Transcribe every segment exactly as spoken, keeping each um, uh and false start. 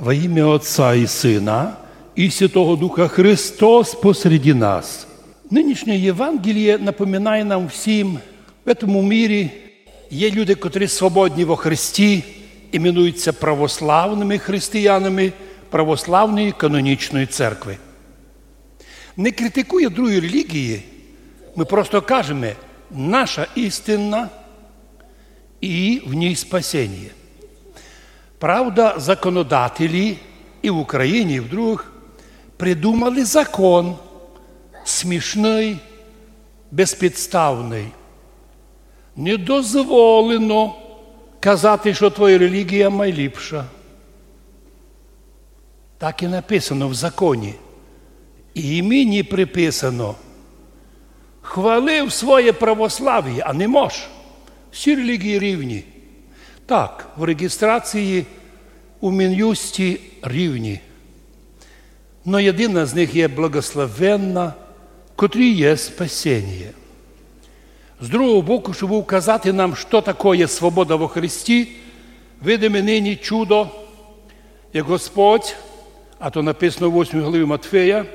Во имя Отца и Сына и Святого Духа. Христос посреди нас. Нынішнє Євангеліє напоминає нам всім, в этом мірі є люди, котрі свободні во Христі, іменуються православними християнами православної канонічної церкви. Не критикує другі релігії, ми просто кажеме, наша істина і в ній спасеніє. Правда, законодателі і в Україні, і в других придумали закон смішный, безпідставный. Не дозволено казати, што твоя релігія майліпша. Так і написано в законі. І мені приписано: хвалив своє православіє, а не мож. Всі релігії рівні. Так, в реєстрації у Мін'юсті рівні. Но єдина з них є благословенна, котрій є спасеніє. З другого боку, щоб указати нам, што такоє свобода во Христі, видиме нині чудо, як Господь, а то написано в восьмій главі Матфея,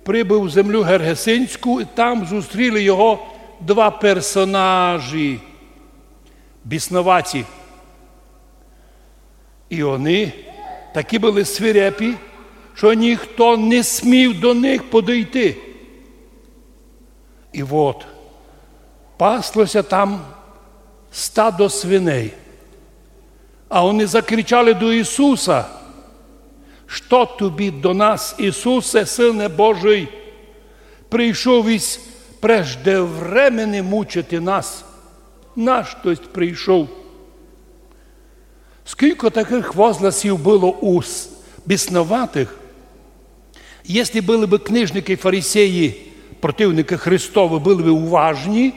прибыв в землю Гергесинську, і там зустріли його два персонажі бісноваті. І они такі были свирепі, што ніхто не смів до них подойти. І вот, паслося там стадо свиней. А они закричали до Ісуса: «Што тобі до нас, Ісусе, Сыне Божий? Прийшов ись преждевремене мучити нас. Наштось прийшов?» Скілько такых возгласів было у с-, бісноватых, єсли были бы книжникы і фарисеї, противникы Христовы, были бы уважні,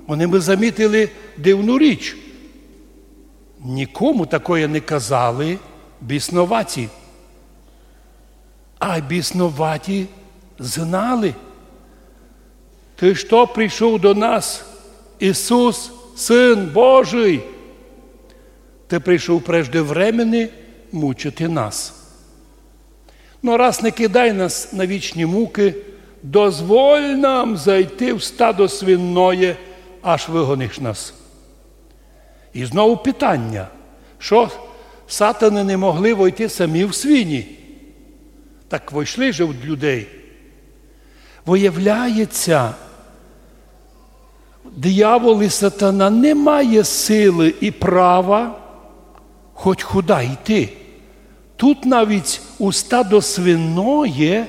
они бы замітили дивну річ. Нікому такоє не казали бісноваті. А бісноваті знали: «Ты што прийшов до нас, Ісус, Сын Божий? Ты прийшов преждевремене мучити нас. Но раз не кидай нас на вічні мукы, дозволь нам зайти в стадо свиноє, аж выгониш нас». І знову питання, што сатаны не могли войти самі в свині? Так войшли же од людей. Выявляється, диявол і сатана не має силы і права хоть куды йти. Тут навіть у стадо свиноє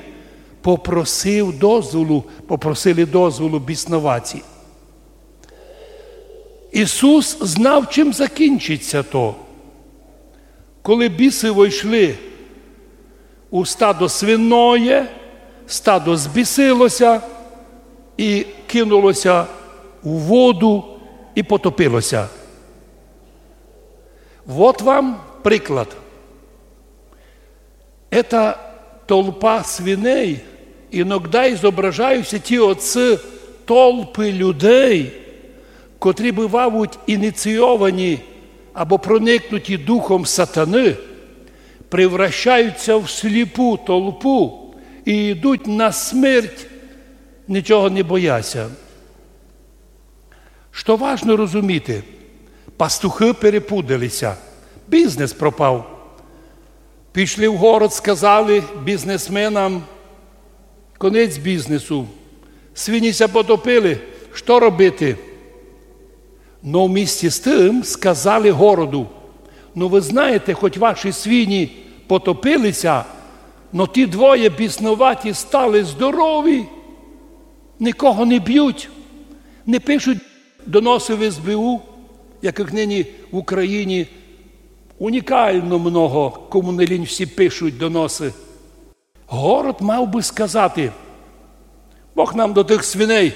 попросив дозволу, попросили дозволу бісноваті. Ісус знав, чим закінчиться то. Коли бісы войшли у стадо свиноє, стадо збісилося і кинулося у воду і потопилося. Вот вам приклад. Ета толпа свиней, иногда изображаються ті оці толпы людей, котрі бывавуть ініційовані або проникнуті духом сатаны, превращаються в сліпу толпу і йдуть на смерть, нічого не бояться. Што важно розуміти, пастухы перепудалися, бізнес пропав. Пішли в город, сказали бізнесменам: «Конець бізнесу. Свині ся потопили, што робити?» Но вмісті з тым сказали городу: «Ну, вы знаєте, хоть ваші свині потопилися, но ті двоє бісноваті стали здорові, никого не бють, не пишуть доносы в СБУ, якых нині в Україні унікално много, кому не лінь, всі пишуть доносы». Город мав бы сказати: «Бог нам до тых свиней,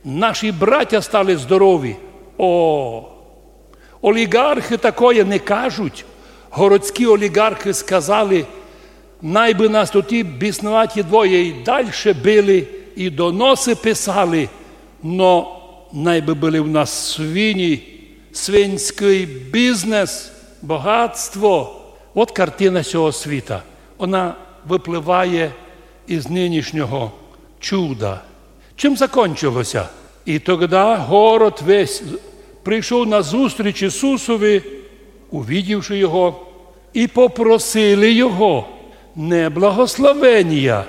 наші братя стали здорові». О, оліґархы такоє не кажуть. Городські оліґархы сказали: «Най бы нас тоті бісноваті двоє і дальше били, і доносы писали, но най бы были в нас свині, свинськый бізнес, богатство». От картина сього світа. Вона выпливає із нынішнього чуда. Чим закончилося? І тогда город весь прийшов на зустріч Ісусови, увидівши його, і попросили його не благословенія.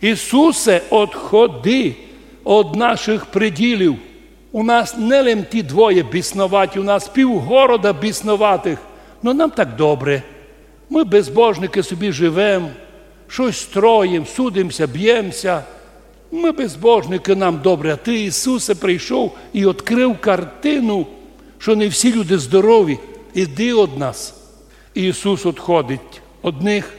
Ісусе, одходи од наших приділів. У нас не лем ті двоє бісноваті, у нас пів города бісноватых. Но нам так добре. Мы безбожникы собі живем, штось строїм, судимся, бємся. Мы безбожникы, нам добре. А ты, Ісусе, прийшов і одкрыв картину, што не всі люди здорові. Іди од нас. Ісус одходить од них.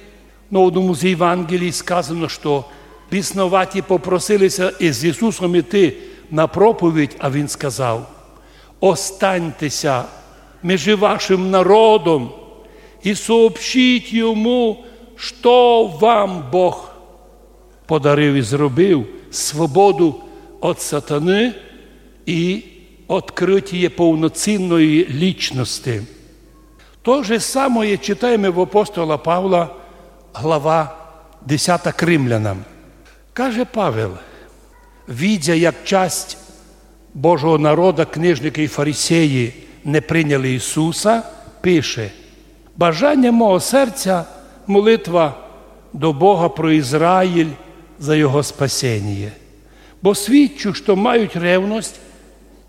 Но в одному з Євангелій сказано, што бісноваті попросили ся із Ісусом іти на проповідь, а Він сказав: «Останьте ся межи вашим народом і сообщіть йому, што вам Бог подарив і зробив, свободу од сатаны і одкрытіє повноцінної лічности». То же самоє читаєме в апостола Павла, глава десята к Римлянам. Каже Павел: «Видя, як часть Божого народа, книжникы і фарисеї не прийняли Ісуса», пише: «Бажаня мого серця — молитва до Бога про Ізраїль за його спасеніє. Бо свідчу, што мають ревность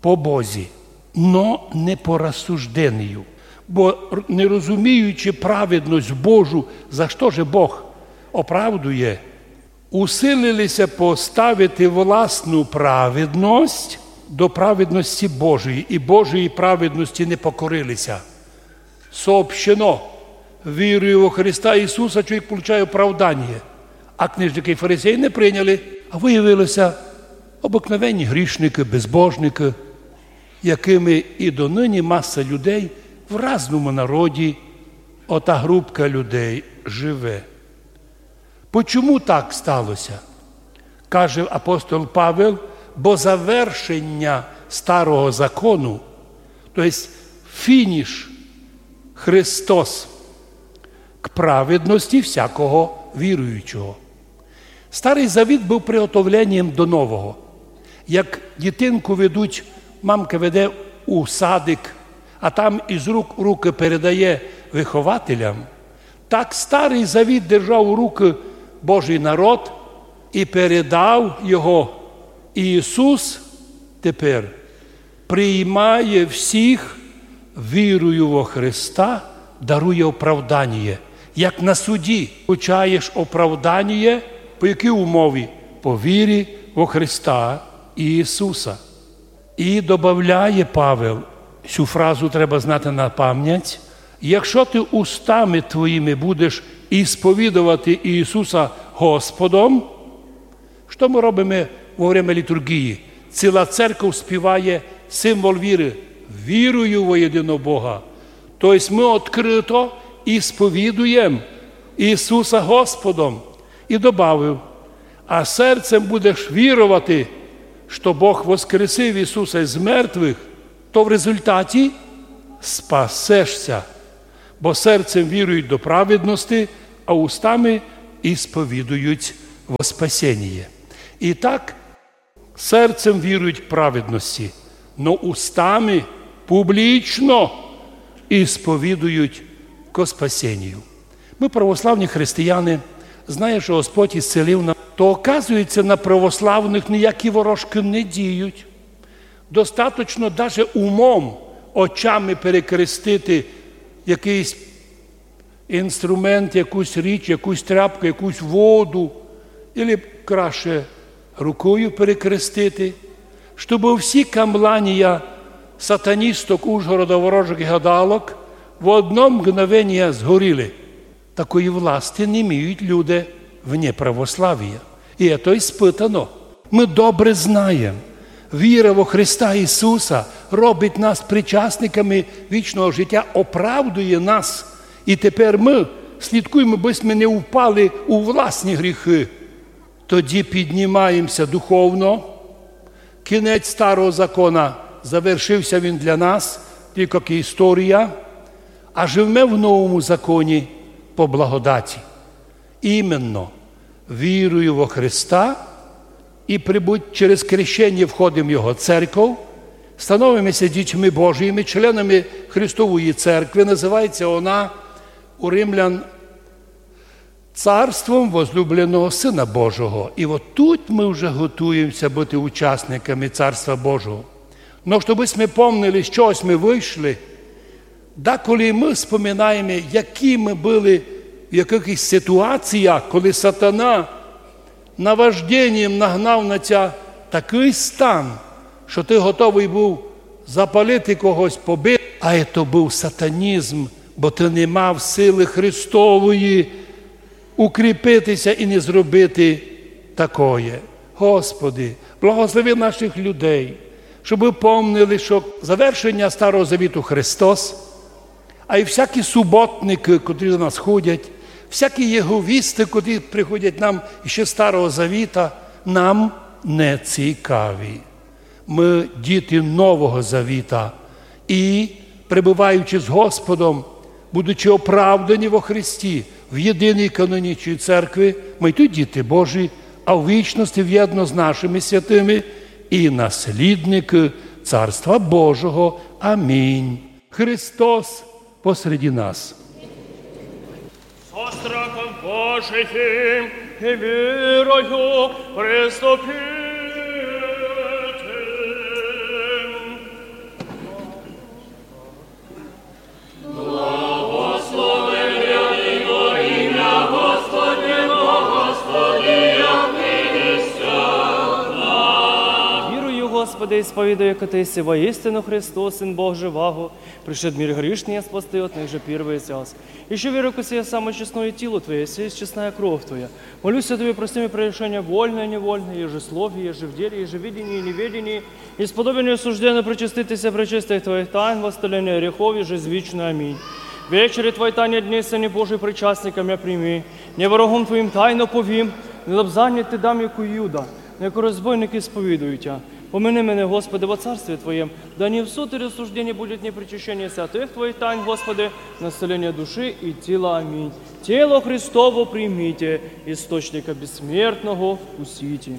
по Бозі, но не по рассужденію. Бо, р-, не розуміючи праведность Божу, за што же Бог оправдує, усилили ся поставити власну праведность до праведности Божої, і Божої праведности не покорили ся». Сообщено: «Вірую во Христа Ісуса, чоловік получає оправдання». А книжникы і фарисеї не прийняли, а выявили ся обыкновенні грішникы, безбожникы, якыми і доныні маса людей в разному народі, ота групка людей живе. Почому так стало ся? Каже апостол Павел: «Бо завершеня старого закону, то єсть фініш Христос, к праведности всякого віруючого». Старый Завіт быв приготовленням до нового. Як дітинку ведуть, мамка веде у садик, а там із рук у рукы передає выхователям, так Старый Завіт держав у рукы Божый народ і передав його. Ісус тепер приймає всіх, вірую во Христа, дарує оправданіє. Як на суді получаєш оправданіє, по якій умові? По вірі во Христа Ісуса. І добавляє Павел, сю фразу треба знати на память: «Якщо ты устами твоїми будеш ісповідовати Ісуса Господом». Што мы робиме во время літурґії? Ціла церков співає символ віры: «Вірую во єдиного Бога». То єсть мы открыто ісповідуєм Ісуса Господом. І добавив: «А серцем будеш віровати, што Бог воскресив Ісуса з мертвых, то в результаті спасеш ся. Бо серцем вірують до праведности, а устами ісповідують во спасеніє». І так, серцем вірують к праведности, но устами публічно ісповідують ко спасенію. Мы, православні християни, знає, што Господь ісцелив нас, то, оказується, на православных ніякі ворожкы не діють. Достаточно даже умом, очами перекрестити якыйсь інструмент, якусь річ, якусь тряпку, якусь воду, или краще рукою перекрестити, щоб всі камланія сатаністок, Ужгорода, ворожок і гадалок в одно мгновеніє згоріли. Такої власти не мають люди вне православія. І це іспытано. Мы добре знаєм, віра во Христа Ісуса робить нас причасниками вічного життя, оправдує нас. І тепер мы слідкуєме, бо сьме не впали у власні гріхы. Тоді піднімаємся духовно. Кінець старого закона завершився він для нас, тілько як історія. А живеме в новому законі, по благодаті. Іменно вірую во Христа і прибуть через крещення входимо в Його церков, становимося дітьми Божіми, членами Христової церкви. Називається вона у римлян царством возлюбленого Сина Божого. І от тут ми вже готуємося бути учасниками Царства Божого. Но щоб ми помнили, з чогось ми вийшли, деколи ми споминаємо, які ми були в якихось ситуаціях, коли сатана наважденням нагнав на тя такий стан, що ти готовий був запалити когось, побити. А то був сатанізм, бо ти не мав сили Христової укріпитися і не зробити такоє. Господи, благослови наших людей, щоб помнили, що завершення Старого Завіту Христос, а й всякі суботники, котрі до нас ходять, всякі єговісти, котрі приходять нам іще Старого Завіта, нам не цікаві. Ми діти Нового Завіта і, перебуваючи з Господом, будучи оправдані во Христі, в єдиній канонічній церкві, ми й тут діти Божі, а в вічності вєдно з нашими святими і наслідники Царства Божого. Амінь. Христос посреди нас. Со страхом Божиим и верою приступите. Благословен имя Господне, Господи, Вірую, Господи, и сповідаю, яко Ти єси воістину Христос, Син Бог живаго, пришед в мир грішный спасти от них же первый час. Ищу верую, яко сие самое честное тило Твоє, сие честная кров Твоя. Молюся Тобі, прости ми прегрешения вольные и невольные, еже в слове, еже в деле, еже в видении и невидении, и сподобен и осужден причаститися пречистых Твоих тайн, восставления грехов, еже извечный. Аминь. Вечери Твоей тайной днесь, Сыне Божий, причастником мя прими, небо рогом Твоим тайно повим, не лобзание Ти дам, яко Иуда, но яко розбойник исповедую Тя. Помяни мене, Господи, во царстве Твоем, да не в суд и рассуждение будет, но причащение святых Твоих тайн, Господи, на исцеление души и тела. Аминь. Тело Христово примите, источника бессмертного вкусите.